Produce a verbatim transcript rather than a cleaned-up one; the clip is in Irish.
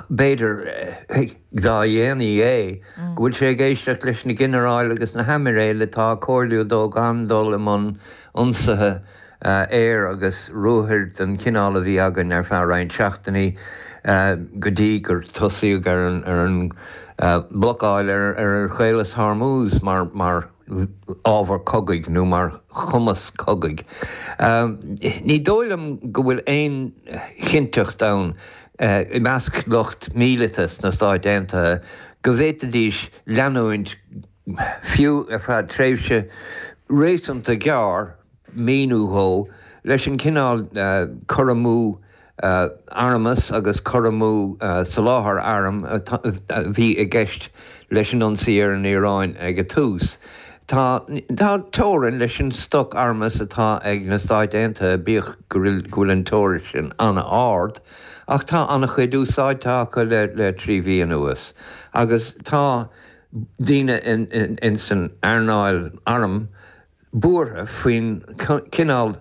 B'fhéidir, dá dhéanaí é, go bhfuil sé ag éisteacht leis na ginearáil agus na haimiréil atá ag comhairliú dó gan dul i mbun ionsaithe aeir agus ruathair den chineál a bhí againn ar feadh roinnt seachtainí go dtí gur tosaíodh ar an mblocáil ar Chaolas Hormuz mar ábhar cogaidh nó mar chumas cogaidh. Ní dóigh liom go bhfuil aon chinnteacht ann i measc lucht míleata sna Stáit Aontaithe go bhféadfaidís leanúint, fiú ar feadh tréimhse réasúnta gearr, mí nó dhó, leis an gcineál cur amú armas agus cur amú soláthar arm a bhí i gceist leis an ionsaí ar an Iaráin ag an tús. Tá teorainn leis an stoc armas atá ag na Stáit Aontaithe, bíodh go bhfuil an teorainn sin an-ard, ach tá an-chuid úsáidte acu le trí mhí anuas agus tá daoine in san earnáil arm buartha faoin chineál